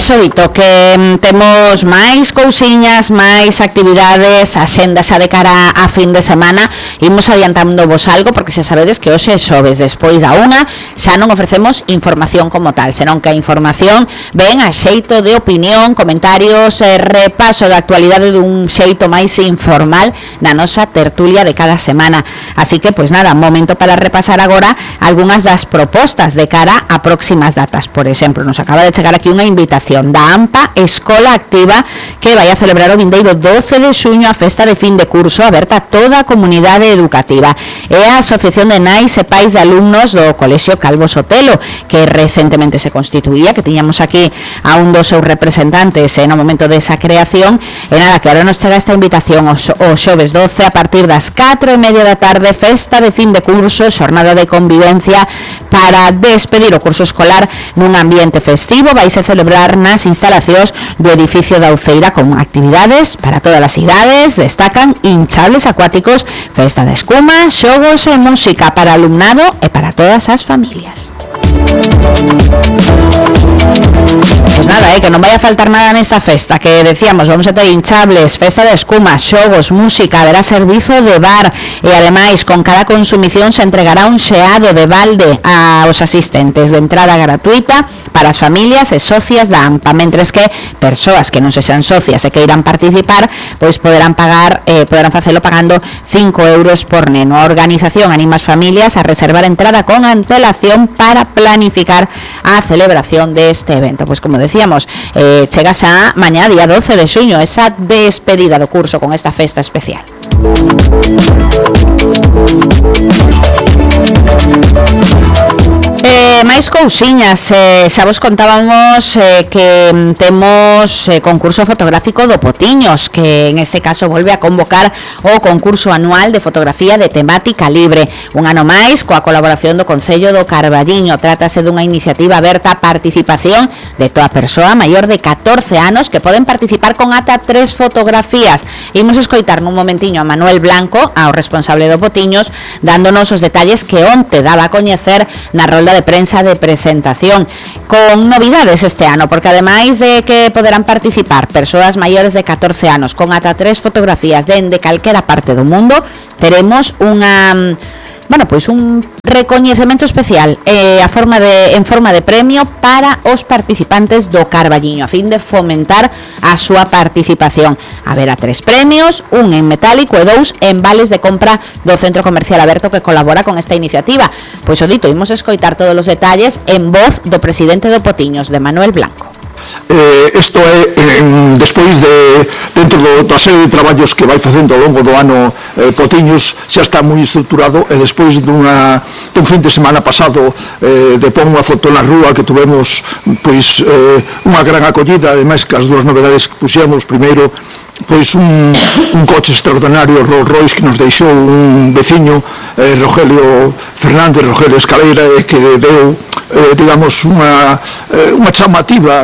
Pois dito que temos máis cousiñas, máis actividades, axenda xa de cara a fin de semana. Imos adiantando vos algo porque xa sabedes que hoxe é xoves, despois da unha xa non ofrecemos información como tal, senón que a información ven a xeito de opinión, comentarios, repaso da actualidade dun xeito máis informal na nosa tertulia de cada semana. Así que, pois nada, momento para repasar agora algunhas das propostas de cara a próximas datas. Por exemplo, nos acaba de chegar aquí unha invitación da AMPA Escola Activa que vai a celebrar o vindeiro 12 de xuño a festa de fin de curso aberta a toda a comunidade educativa. É a Asociación de Nais e Pais de Alumnos do Colexio Calvo Sotelo, que recentemente se constituía, que tiñamos aquí a un dos seus representantes no momento desa creación. E nada, que ahora nos chega esta invitación o xoves 12 a partir das 4:30 da tarde, festa de fin de curso, xornada de convivencia para despedir o curso escolar nun ambiente festivo. Vais a celebrar nas instalacións do edificio da Uceira con actividades para todas as idades. Destacan hinchables acuáticos, festa de escuma, xogos e música para alumnado e para todas as familias. Pues nada, que non vai a faltar nada nesta festa, que decíamos, vamos a ter hinchables, festa de escuma, xogos, música, haberá servizo de bar e ademais con cada consumición se entregará un xeado de balde aos asistentes de entrada gratuita para as familias e socias da AMPA, mentres que persoas que non se sean socias e que irán participar, pois poderán facelo pagando 5 euros por neno. A organización anima as familias a reservar entrada con antelación para planificar a celebración deste evento. Pois como decíamos, chega xa mañá, día 12 de xuño, esa despedida do curso con esta festa especial. Máis cousiñas, xa vos contábamos que temos concurso fotográfico do Potiños, que en este caso volve a convocar o concurso anual de fotografía de temática libre, un ano máis coa colaboración do Concello do Carballiño. Trátase dunha iniciativa aberta a participación de toda persoa maior de 14 anos que poden participar con ata 3 fotografías. Imos escoitar nun momentiño a Manuel Blanco, ao responsable do Potiños, dándonos os detalles que onte daba a coñecer na rolda de prensa de presentación, con novidades este ano, porque ademais de que poderán participar persoas maiores de 14 anos con ata 3 fotografías dende calquera parte do mundo, teremos unha un recoñecemento especial en forma de premio para os participantes do Carballiño, a fin de fomentar a súa participación. Haberá 3 premios, un en metálico e 2 en vales de compra do Centro Comercial Aberto que colabora con esta iniciativa. Pois o dito, imos escoitar todos os detalles en voz do presidente do Potiños, de Manuel Blanco. Isto é despois dentro da serie de traballos que vai facendo ao longo do ano Potiños, xa está moi estruturado, e despois dun fin de semana pasado de pon unha foto na rúa que tuvemos pois unha gran acollida, ademais que as dúas novedades que puxemos, primeiro pois un coche extraordinario Rolls Royce que nos deixou un veciño, Rogelio Fernández, Rogelio Escaleira, que deu digamos unha chamativa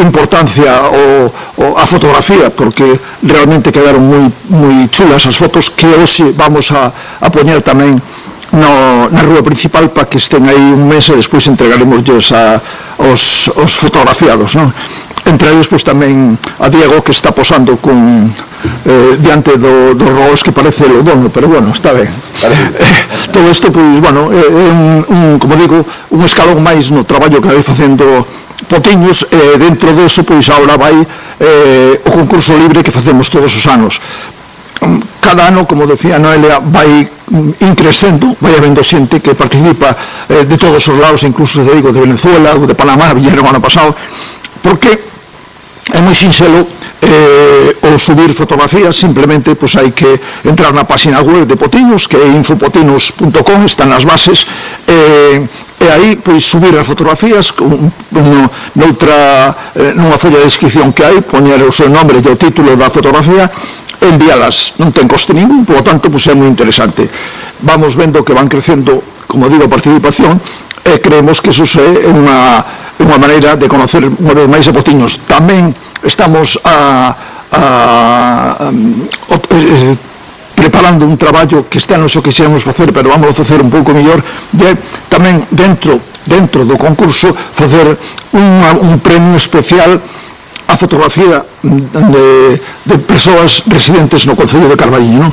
importancia a fotografía, porque realmente quedaron moi chulas as fotos que hoxe vamos a poñer tamén na rúa principal para que estén aí un mes e despois entregaremos os fotografiados, non? Entre eles, pois, tamén a Diego, que está posando diante do Rolls, que parece o dono, pero bueno, está ben. Todo isto, pois, bueno, é como digo, un escalón máis no traballo que vai facendo Potiños, e dentro disso, pois, agora vai o concurso libre que facemos todos os anos. Cada ano, como decía Noelia, vai increscendo, vai habendo xente que participa de todos os lados, incluso, de Venezuela ou de Panamá, viñeron ano pasado, porque é moi sinxelo o subir fotografías. Simplemente pois hai que entrar na página web de Potiños, que é infopotinos.com, están as bases, e aí pois subir as fotografías nunha folla de descripción que hai, poñer o seu nome e o título da fotografía, envialas, non ten coste ningún, por lo tanto pois é moi interesante. Vamos vendo que van crecendo, como digo, a participación, e creemos que iso é unha maneira de conocer unha vez máis a Potiños. Tamén estamos preparando un traballo que está no xo que xemos facer, pero vamos a facer un pouco mellor, tamén dentro dentro do concurso, facer un premio especial a fotografía de persoas residentes no Concello de Carballiño, non?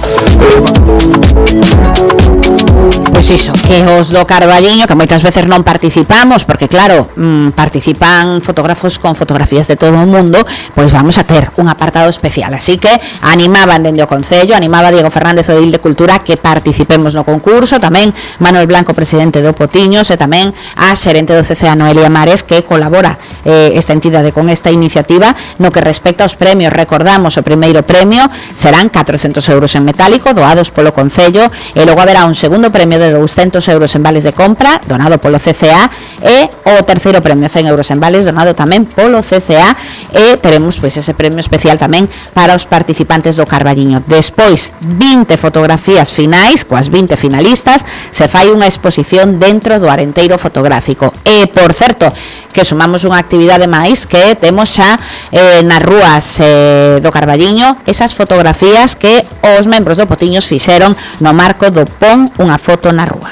Pois iso, que os do Carballiño, que moitas veces non participamos, porque claro, participan fotógrafos con fotografías de todo o mundo, pois vamos a ter un apartado especial, así que animaban dende o Concello, animaba Diego Fernández, o edil de Cultura, que participemos no concurso, tamén Manuel Blanco, presidente do Potiños, e tamén a xerente do CCA, Noelia Mares, que colabora esta entidade con esta iniciativa. No que respecta aos premios, recordamos, o primeiro premio serán 400 euros en metálico, doados polo Concello, e logo haberá un segundo premio de 200 euros en vales de compra, donado polo CCA, e o terceiro premio, 100 euros en vales, donado tamén polo CCA, e teremos pois ese premio especial tamén para os participantes do Carballiño. Despois, 20 fotografías finais, coas 20 finalistas, se fai unha exposición dentro do Arenteiro Fotográfico. E, por certo, que sumamos unha actividade máis, que temos xa nas rúas do Carballiño esas fotografías que os membros do Potiños fixeron no marco do Pon unha foto na rúa.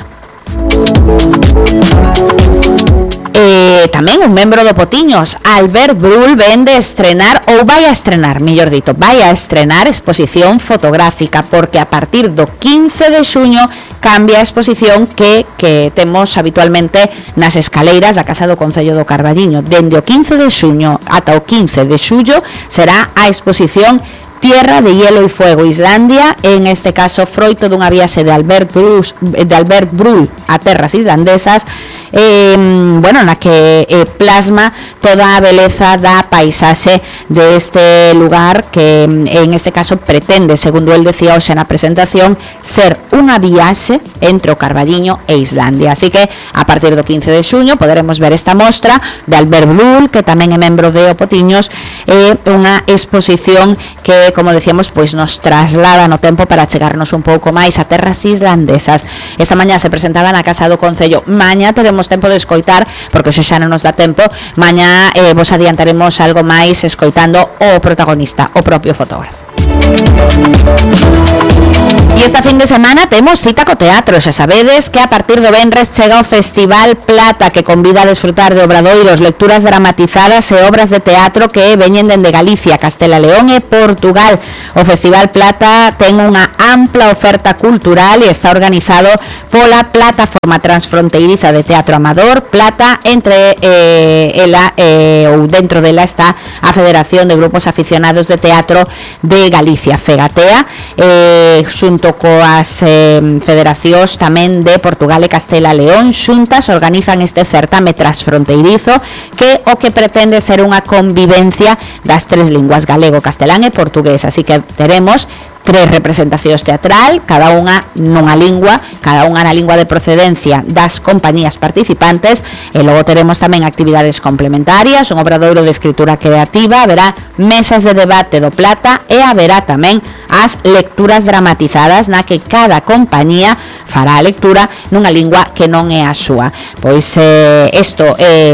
Tamén un membro do Potiños, Albert Brull, ven de estrenar, ou vai a estrenar, mellor dito, vai a estrenar exposición fotográfica, porque a partir do 15 de xuño cambia a exposición que temos habitualmente nas escaleiras da Casa do Concello do Carballiño. Dende o 15 de xuño ata o 15 de xullo será a exposición Tierra de Hielo y Fuego, Islandia, en este caso froito dunha viaxe de Albert Brull a terras islandesas, na que plasma toda a beleza da paisaxe deste lugar, que en este caso pretende, segundo el decía hoxe na presentación, ser unha viaxe entre o Carballiño e Islandia. Así que a partir do 15 de xuño poderemos ver esta mostra de Albert Brull, que tamén é membro de Potiños, unha exposición que, como decíamos, pois nos traslada no tempo para chegarnos un pouco máis a terras islandesas. Esta mañá se presentaba na Casa do Concello. Mañá teremos tempo de escoitar, porque xa non nos dá tempo. Mañá vos adiantaremos algo máis escoitando o protagonista, o propio fotógrafo. E esta fin de semana temos cita co teatro. Xa sabedes que a partir do venres chega o Festival Plata, que convida a desfrutar de obradoiros, lecturas dramatizadas e obras de teatro que veñen dende Galicia, Castela León e Portugal. O Festival Plata ten unha ampla oferta cultural e está organizado pola Plataforma Transfronteiriza de Teatro Amador, Plata, entre ela ou dentro dela está a Federación de Grupos Aficionados de Teatro de Galicia, FEGATEA, xunto coas federacións tamén de Portugal e Castela León, xuntas organizan este certame transfronteirizo que o que pretende ser unha convivencia das tres linguas, galego, castelán e portugués. Así que teremos 3 representacións teatral, cada unha nunha lingua, cada unha na lingua de procedencia das compañías participantes, e logo teremos tamén actividades complementarias, un obradoiro de escritura creativa, haberá mesas de debate do Plata e haberá tamén as lecturas dramatizadas na que cada compañía fará a lectura nunha lingua que non é a súa. Pois isto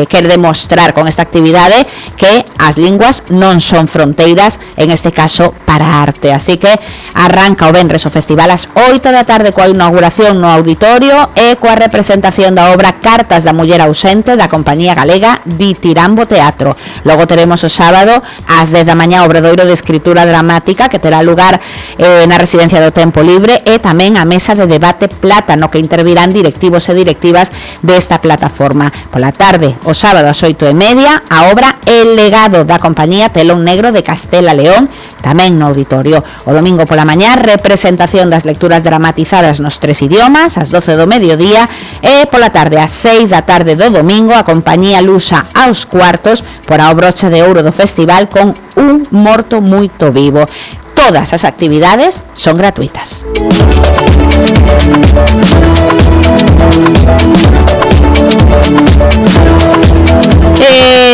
quere demostrar con esta actividade que as linguas non son fronteiras, en este caso para a arte. Así que arranca o venres o festival ás 8 da tarde coa inauguración no auditorio e coa representación da obra Cartas da Muller Ausente da compañía galega Ditirambo Teatro. Logo teremos o sábado ás 10 da mañá o obradoiro de escritura dramática que terá lugar na Residencia do Tempo Libre, e tamén a mesa de debate Plata, no que intervirán directivos e directivas desta plataforma. Pola tarde, o sábado ás 8:30, a obra El Legado da compañía Telón Negro de Castela León, tamén no auditorio. O domingo pola mañá, representación das lecturas dramatizadas nos 3 idiomas, ás 12 do mediodía, e pola tarde, ás 6 da tarde do domingo, a compañía lusa aos cuartos por a brocha de ouro do festival con Un Morto Muito Vivo. Todas as actividades son gratuitas.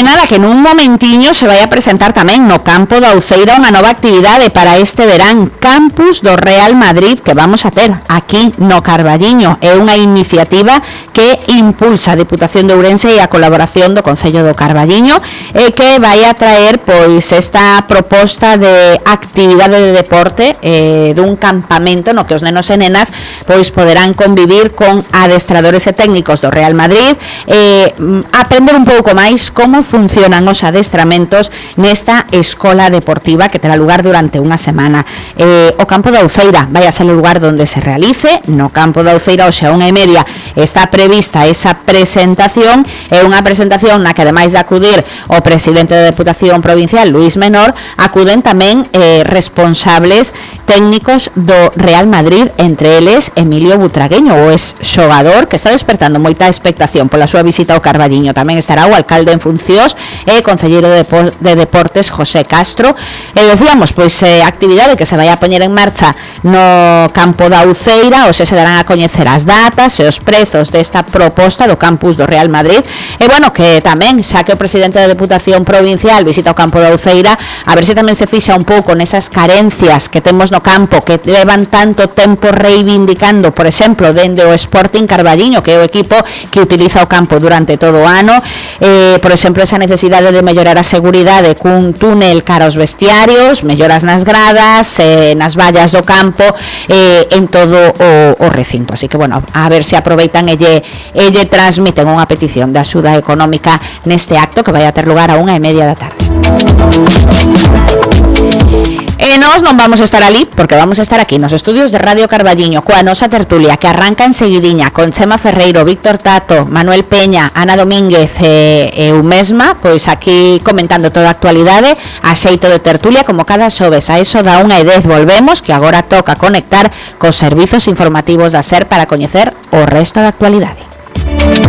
Nada, que nun momentiño se vai a presentar tamén no campo da Uceira unha nova actividade para este verán, Campus do Real Madrid, que vamos a ter aquí no Carballiño. É unha iniciativa que impulsa a Diputación de Ourense e a colaboración do Concello do Carballiño, e que vai a traer pois esta proposta de actividade de deporte, dun campamento no que os nenos e nenas pois poderán convivir con adestradores e técnicos do Real Madrid aprender un pouco máis como funcionan os adestramentos nesta escola deportiva que terá lugar durante unha semana. O campo da Uceira vai a ser o lugar onde se realice. No campo da Uceira hoxe a 1:30 está prevista esa presentación, é unha presentación na que ademais de acudir o presidente da Deputación Provincial, Luís Menor, acuden tamén responsables técnicos do Real Madrid, entre eles Emilio Butragueño, o ex-xogador que está despertando moita expectación pola súa visita ao Carballiño. Tamén estará o alcalde en funcións e concelleiro de Deportes, José Castro. E decíamos, pois, actividade que se vai a poñer en marcha no campo da Uceira, ou se darán a coñecer as datas e os prezos desta proposta do campus do Real Madrid. E, bueno, que tamén, xa que o presidente da Deputación Provincial visita o campo da Uceira, a ver se tamén se fixa un pouco nesas carencias que temos no campo, que levan tanto tempo reivindicando, por exemplo, dende o Sporting Carballiño, que é o equipo que utiliza o campo durante todo o ano. Por exemplo, esa necesidade de mellorar a seguridade cun túnel cara aos vestiarios, melloras nas gradas, nas vallas do campo, en todo o recinto. Así que, bueno, a ver se aproveitan e lle transmiten unha petición de axuda económica neste acto que vai a ter lugar a 1:30 da tarde. E nós non vamos a estar ali, porque vamos a estar aquí nos estudios de Radio Carballiño coa nosa tertulia que arranca en seguidiña con Chema Ferreiro, Víctor Tato, Manuel Peña, Ana Domínguez e eu mesma, pois aquí comentando toda a actualidade a xeito de tertulia, como cada xoves a eso da 1:10 volvemos, que agora toca conectar cos servizos informativos da SER para coñecer o resto da actualidade.